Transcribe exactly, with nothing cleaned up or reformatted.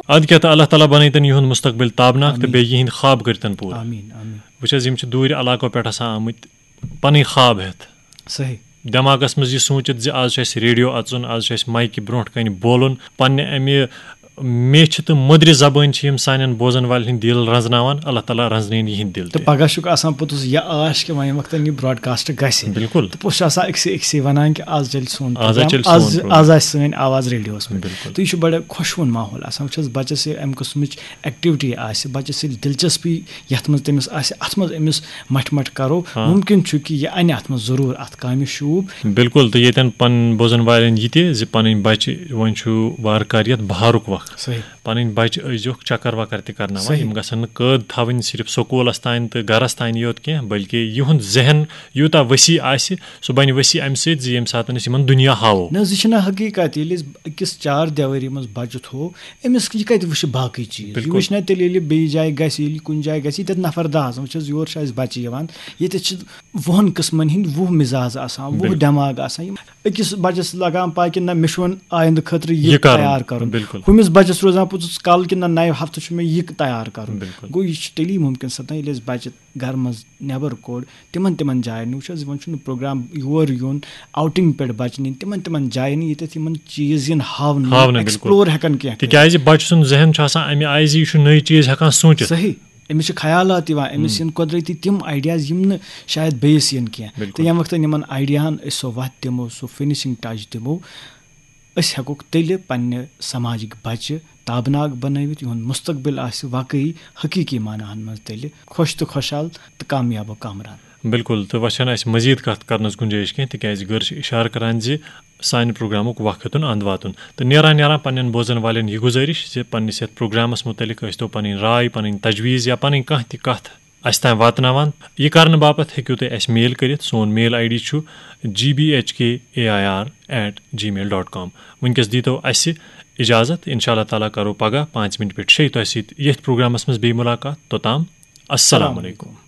اَدٕ کیٛاہ تہٕ اللہ تعالیٰ بَنٲیتَن یِہُنٛد مُستقبِل تابناک تہٕ آمیٖن۔ بیٚیہِ یِہِنٛدۍ خواب کٔرۍتَن پوٗرٕ۔ آمیٖن، آمیٖن۔ وٕچھ حظ، یِم چھِ دوٗرِ علاقو پٮ۪ٹھ آسان آمٕتۍ پَنٕنۍ خواب ہٮ۪تھ۔ صحیح۔ دٮ۪ماغَس منٛز یہِ سوٗنٛچِتھ زِ آز چھُ اَسہِ ریڈیو اَژُن، آز چھُ اَسہِ مایکہِ برونٛٹھ کَنہِ بولُن، پنٛنہِ اَمہِ میچھِ تہٕ مٔدرِ زبٲنۍ چھِ یِم سانٮ۪ن بوزَن والٮ۪ن ہِنٛدۍ دِل رَزناوان، اللہ تعالیٰ رَزنٲیِن یِہِنٛدۍ دِل تہٕ تہِ۔ پگاہ چھُکھ آسان پوٚتُس یہِ آش کہِ وۄنۍ ییٚمہِ وقتہٕ یہِ براڈکاسٹ گژھِ۔ بِلکُل۔ تہٕ پوٚتُس چھُ آسان أکسٕے أکسٕے وَنان کہِ آز چَلہِ سون آز حظ پروگرام، چَلہِ سون آز پروگرام۔ آز آسہِ سٲنۍ آواز ریڈیوَس پٮ۪ٹھ۔ بِلکُل۔ تہٕ یہِ چھُ بَڑٕ خۄشوُن ماحول آسان۔ وٕچھ حظ، بَچَس ییٚلہِ اَمہِ قٕسمٕچ ایکٹیوِٹی آسہِ، بَچَس ییٚلہِ دِلچَسپی یَتھ منٛز تٔمِس آسہِ، اَتھ منٛز أمِس مَٹھِ مَٹھِ کَرو، ہاں۔ مُمکِن چھُ کہِ یہِ اَنہِ اَتھ منٛز ضروٗر اَتھ کامہِ شوٗب۔ بِلکُل، تہٕ ییٚتٮ۪ن پَنٕنۍ بوزَن والٮ۪ن یہِ تہِ زِ پَنٕنۍ بَچہِ وۄنۍ چھُ وارٕ کارٕ یَتھ بہارُک وقت۔ صحیح۔ پَنٕنۍ بَچہِ ٲسۍزیوکھ چَکَر وَکَر تہِ کَرناوان۔ صحیح۔ یِم گژھن نہٕ قٲد تھاوٕنۍ صرف سکوٗلَس تام تہٕ گَرَس تام یوت کینٛہہ، بلکہِ یِہُنٛد ذہن یوٗتاہ ؤسیع آسہِ، سُہ بَنہِ ؤسیع اَمہِ سۭتۍ زِ ییٚمہِ ساتہٕ أسۍ یِمَن دُنیا ہاوو۔ نہ حظ، یہِ چھِنہ حقیٖقت۔ ییٚلہِ أسۍ أکِس چار دیوٲری منٛز بَچہٕ تھوو، أمِس یہِ کَتہِ وٕچھِ باقٕے چیٖز؟ یہِ بِلکُل۔ وٕچھِ نہ تیٚلہِ ییٚلہِ بیٚیہِ جایہِ گژھِ، ییٚلہِ کُنہِ جایہِ گژھِ، ییٚتٮ۪تھ نفر دَہ آسان۔ وٕچھ حظ، یور چھِ اَسہِ بَچہِ یِوان، ییٚتٮ۪تھ چھِ وُہَن قٕسمَن ہِنٛدۍ وُہ مِزاز آسان، وُہ بِلکُل۔ دٮ۪ماغ آسان۔ یِم أکِس بَچَس لَگان پَے کہِ نہ، مےٚ چھُ وۄنۍ آیِندٕ خٲطرٕ یہِ یہِ کَرُن۔ تیار کَرُن۔ بِلکُل۔ ہُمِس بَچَس روزان پوٚتُس کَل کہِ نہ، نَیہِ ہفتہٕ چھُ مےٚ یہِ تیار کَرُن۔ بِلکُل۔ گوٚو، یہِ چھُ تیٚلی مُمکِن سَپدان، ییٚلہِ أسۍ بَچہِ گَرٕ منٛز نٮ۪بَر کوٚڑ، تِمَن تِمَن جایَن۔ وٕچھ حظ، یِمَن چھُنہٕ پروگرام یور یُن، آوٹِنٛگ پٮ۪ٹھ بَچہِ نِنۍ، تِمَن تِمَن جایَن ییٚتٮ۪تھ یِمَن چیٖز یِن ہاونہٕ، ہاونہٕ، بِلکُل۔ ایکسپلور ہٮ۪کَن کینٛہہ کٔرِتھ۔ تِکیٛازِ بَچہٕ سُنٛد ذہن چھُ آسان اَمہِ آیہِ زِ یہِ چھُ نٔے چیٖز ہٮ۪کان سوٗنٛچِتھ۔ صحیح۔ أمِس چھِ خیالات یِوان، أمِس یِن قۄدرٔتی تِم آیڈیاز یِم نہٕ شاید بیٚیِس یِن کینٛہہ۔ بِلکُل۔ تہٕ ییٚمہِ وقتہٕ یِمَن آیڈیاہَن أسۍ سۄ وَتھ دِمو، سُہ فِنِشِنٛگ ٹَچ دِمو، أسۍ ہٮ۪کوکھ تیٚلہِ پنٛنہِ سماجِکۍ بَچہِ تابناک بَنٲوِتھ، یِہُنٛد مُستقبِل آسہِ واقعی حقیٖقی معناہَن منٛز تیٚلہِ خۄش تہٕ خۄشحال تہٕ کامیاب و کامران۔ بِلکُل، تہٕ وۄنۍ چھَنہٕ اَسہِ مٔزیٖد کَتھ کَرنَس گُنجٲیِش کینٛہہ، تِکیٛازِ گٔر چھِ اِشارٕ کَران زِ سانہِ پروگرامُک وقت ہیوٚتُن اَنٛد واتُن۔ تہٕ نیران نیران پنٛنٮ۪ن بوزَن والٮ۪ن یہِ گُزٲرِش زِ پنٛنِس یَتھ پروگرامَس مُتعلِق ٲسۍتو پَنٕنۍ راے، پَنٕنۍ تجویٖز یا پَنٕنۍ کانٛہہ تہِ کَتھ اَسہِ تام واتناوان۔ یہِ کَرنہٕ باپَتھ ہیٚکِو تُہۍ اَسہِ میل کٔرِتھ۔ سون میل آی ڈی چھُ G B H K A I R at gmail dot com. وٕنکیٚس دیٖتو اَسہِ اِجازت، اِنشاء اللہ تعالیٰ کَرو پَگاہ پانٛژِ مِنٹہِ پٮ۪ٹھ شیٚیہِ تۄہہِ سۭتۍ ییٚتھۍ پروگرامَس منٛز بیٚیہِ مُلاقات۔ توٚتام السلام علیکُم۔